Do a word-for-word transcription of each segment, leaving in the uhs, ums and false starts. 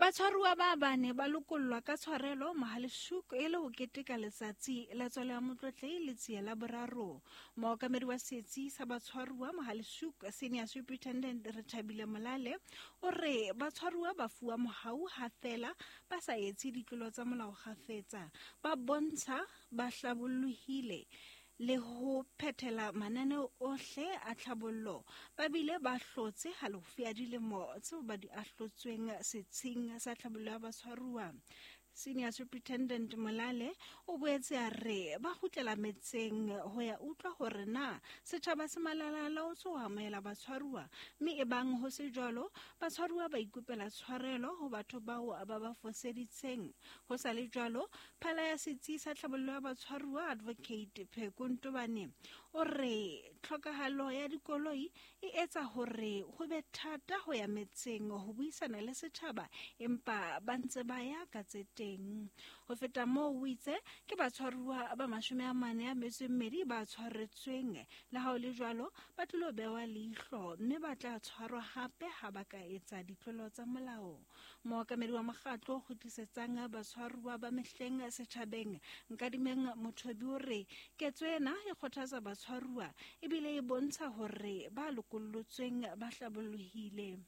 Batshwaruwa ba bane ba lokollwa ka tshwarelo Mohale'shoek e le ho keteka letsatsi la tswalo ya Motlotlehi Letsie la boraro. Mookamedi wa setsi sa batshwaruwa Mohale'shoek, Senior Superintendent Rethabile Molale, o re batshwaruwa ba fuwa mohau ha feela ba sa etse ditlolo tsa molao kgafetsa, ba bontsha ba hlabollohile le ho phethela mananeo ohle a tlhabollo, ba bile ba hlotse halofo ya dilemo tseo ba di ahlotsweng setsheng sa tlhabollo ya batshwaruwa. Senior Superintendent Molale o boetse a re ba kgutlela metseng ho ya utlwa hore na setjhaba se malalalaotswe ho amohela batshwaruwa, mme ebang ho se jwalo, batshwaruwa ba ikopela tshwarelo ho batho bao ba ba foseditseng. Ho sa le jwalo, phala ya setsi sa tlhabollo ya batshwaruwa Advocate Pheko Ntobane o re tlhokahalo ya dikoloi e etsa hore ho be thata ho ya metseng ho buisana le setjhaba, empa ba ntse ba ya ka tse teng. Ho feta moo, o itse ke batshwaruwa ba mashome a mane a metso e mmedi ba tshwaretsweng. Le ha ho le jwalo, ba tlilo bewa leihlo mme ba tla tshwarwa hape ha ba ka etsa ditlolo tsa molao. Mookamedi wa mokgatlo o kgutlisetsang batshwaruwa ba mehleng setjhabeng, Nkadimeng Mothobi, o re ketso ena e kgothatsa batshwaruwa ebile e bontsha hore ba lokollotsweng ba hlabollohile.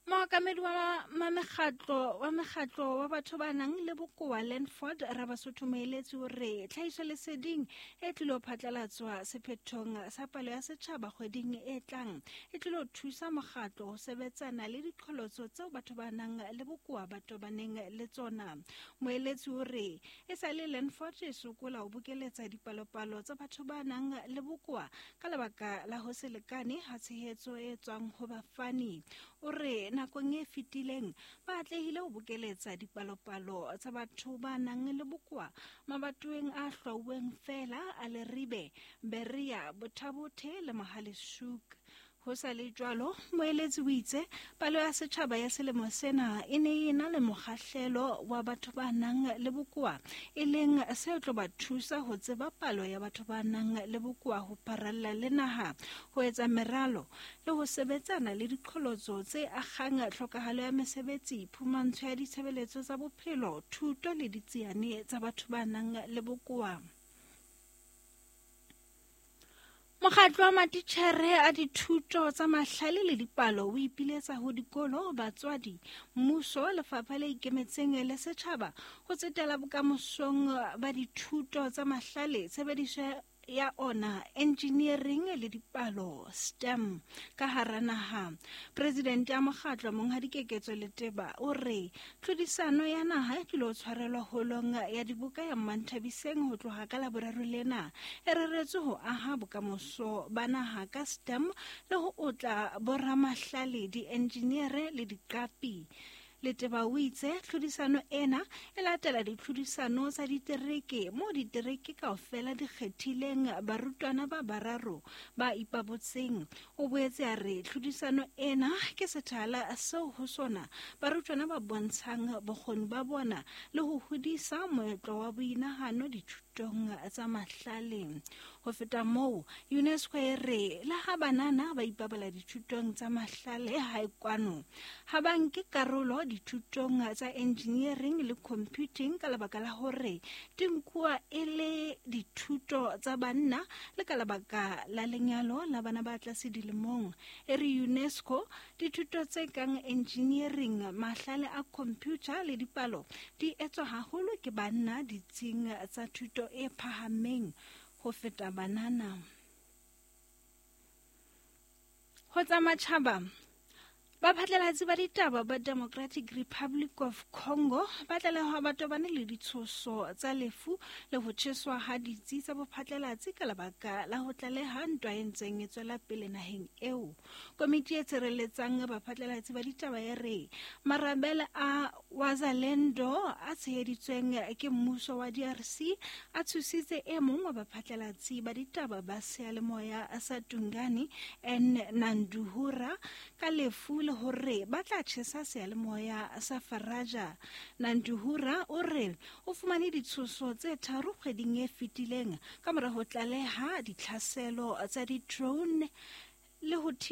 Mookamedi wa mekgatlo wa mekgatlo wa batho ba nang le bokowa Landford Rabasotho Moeletsi o re tlhahisoleseding e tlilo phatlalatswa sephethong sa palo ya setjhaba kgweding e tlang e tlilo thusa mokgatlo ho sebetsana le diqholotso tseo batho ba nang le bokowa ba tobaneng le tsona. Moeletsi o re e sa le Landford e sokola ho bokeletsa dipalopalo tsa batho ba nang le bokowa ka lebaka la ho se lekane ha tshehetso e tswang ho bafani. O re nakong e fetileng ba atlehile ho bokeletsa dipalopalo tsa batho ba nang le bokowa mabatoweng a hlwauweng feela a Leribe, Berea, Botha-Bothe le Mohale'shoek. Ho sa le jwalo, moeletsi o itse palo ya setjhaba ya selemo sena e ne e na le mokgahlelo wa batho ba nang le bokowa, e leng se tlo ba thusa ho tseba palo ya batho ba nang le bokowa ho pharalla le naha, ho etsa meralo le ho sebetsana le diqholotso tse akgang tlhokahalo ya mesebetsi, phumantsho ya ditshebeletso tsa bophelo, thuto le ditsiane tsa batho ba nang le bokowa. Mokgatlo wa matitjhere a dithuto tsa mahlale le dipalo o ipiletsa ho dikolo, batswadi, mmuso, lefapha le ikemetseng le setjhaba ho tsetela bokamosong ba dithuto tsa mahlale, tshebediso ya ona, engineering le dipalo STEM ka hara naha. President ya mokgatlo Monghadi Keketso Leteba o re tlhodisano ya naha e tlilo tshwarelwa holong ya dibuka ya Mmanthabiseng ho tloha ka Laboraro lena e reretswe ho aha bokamoso ba naha ka STEM le ho otla boramahlale, di-engineere le diqapi. Leteba o itse tlhodisano ena e latela ditlhodisano tsa ditereke moo ditereke kaofela di kgethileng barutwana ba bararo ba ipabotseng. O boetse a re tlhodisano ena ke sethala seo ho sona barutwana ba bontshang bokgoni ba bona le ho hodisa moetlo wa boinahano dithutong tsa mahlale. Ho feta moo, UNESCO e re le ha banana ba ipabala dithutong tsa mahlale hae kwano, ha ba nke karolo dithutong tsa engineering le computing ka lebaka la hore di nkuwa e le dithuto tsa banna le ka lebaka la lenyalo la bana ba tlase dilemong. E re UNESCO dithuto tse kang engineering, mahlale a computer le dipalo di etswa haholo ke banna ditsing tsa thuto e phahameng ho feta banana. Ho tsa matjhaba, baphatlalatsi ba ditaba ba Democratic Republic of Congo ba tlalehwa ba tobane le ditshoso tsa lefu le ho tjheswa ha ditsi tsa bophatlalatsi ka lebaka la ho tlaleha ntwa e ntseng e tswela pele naheng eo. Komiti e tshireletsang baphatlalatsi ba ditaba e re marabele a Wazalendo a tsheheditsweng ke mmuso wa D R C a tshositse e mong wa baphatlalatsi ba ditaba ba seyalemoya sa Tungani N Nanduhura ka lefu le hore ba tla tjhesa seyalemoya sa Faraja. Nanduhura o re o fumane ditshoso tse tharo kgweding e fetileng ka mora ho tlaleha ditlhaselo tsa di-drone le ho